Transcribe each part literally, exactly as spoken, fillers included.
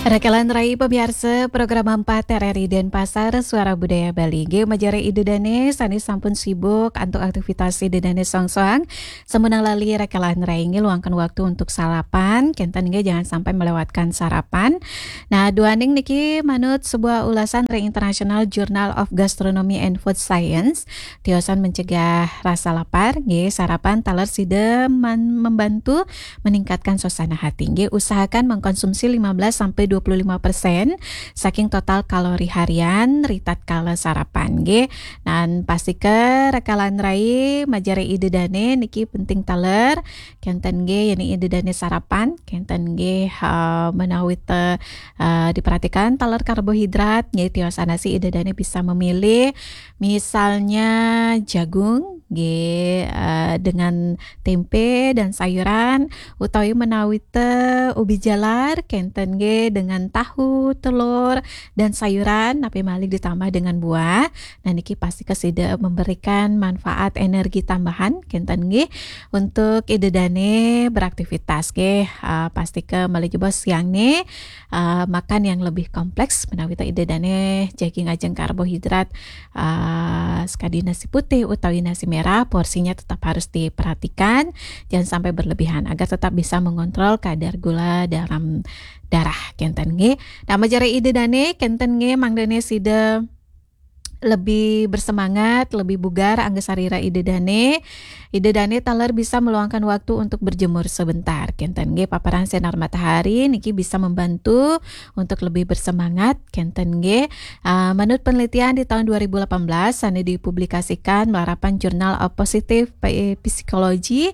Rakalan rai pamiarsa program empat R R I Denpasar, Suara Budaya Bali. Nggih, majeng rai Ida Dane sane sampun sibuk antuk aktivitas Ida Dane soang-soang. Sampun lali rakalan rai nggih luangkan waktu untuk sarapan. Kenten nggih, jangan sampai melewatkan sarapan. Nah, duaning niki manut sebuah ulasan ring International Journal of Gastronomy and Food Science. Tiosan mencegah rasa lapar, nggih, sarapan taler sida man-, membantu meningkatkan suasana hati. Nggih, usahakan mengkonsumsi lima belas sampai dua puluh lima persen saking total kalori harian ritatkala sarapan, nggih. Nan pastika rakalan rai majeng rai Ida Dane niki penting taler, kenten nggih, yen Ida Dane sarapan, kenten nggih, eh, menawi te, eh, diperhatikan taler karbohidrat, nggih, tiosan sih Ida Dane bisa memilih misalnya jagung, nggih, eh, dengan tempe dan sayuran, utawi menawi te ubi jalar, kenten nggih, dengan tahu, telur, dan sayuran, napi malih ditambah dengan buah. Nah, niki pastika sida memberikan manfaat energi tambahan, kenten nggih, untuk Ida Dane beraktivitas, nggih. Eh, pastika malih jebos siangne, eh, makan yang lebih kompleks, menawi te Ida Dane jagi ngajeng karbohidrat, eh, sekadi nasi putih utawi nasi merah, porsinya tetap harus diperhatikan, jangan sampai berlebihan agar tetap bisa mengontrol kadar gula dalam darah, kenten nggih. Nah, majeng rai Ida Dane, kenten nggih, mangdane sida lebih bersemangat, lebih bugar angga sarira Ida Dane. Ida Dane taler bisa meluangkan waktu untuk berjemur sebentar. Kenten nggih, paparan sinar matahari niki bisa membantu untuk lebih bersemangat. Kenten nggih. Ah, menurut penelitian di tahun dua ribu delapan belas, sane dipublikasikan malarapan Journal of Positive Psychology,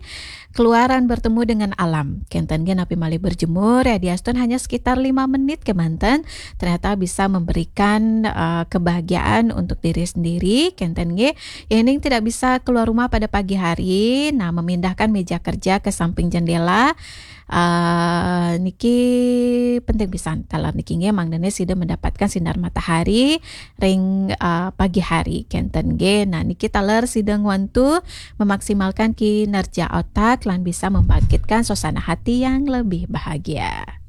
keluar lan bertemu dengan alam. Kenten nggih, napi malih berjemur, ya, diastun hanya sekitar lima menit kemanten, ternyata bisa memberikan, eh, kebahagiaan untuk diri sendiri, kenten nggih. Yening tidak bisa keluar rumah pada pagi hari, nah, memindahkan meja kerja ke samping jendela, eh, niki penting pisan. Taler niki nggih, mangdane sida mendapatkan sinar matahari ring, eh, pagi hari, kenten nggih. Nah, niki taler sida ngwantu memaksimalkan kinerja otak lan bisa membangkitkan suasana hati yang lebih bahagia.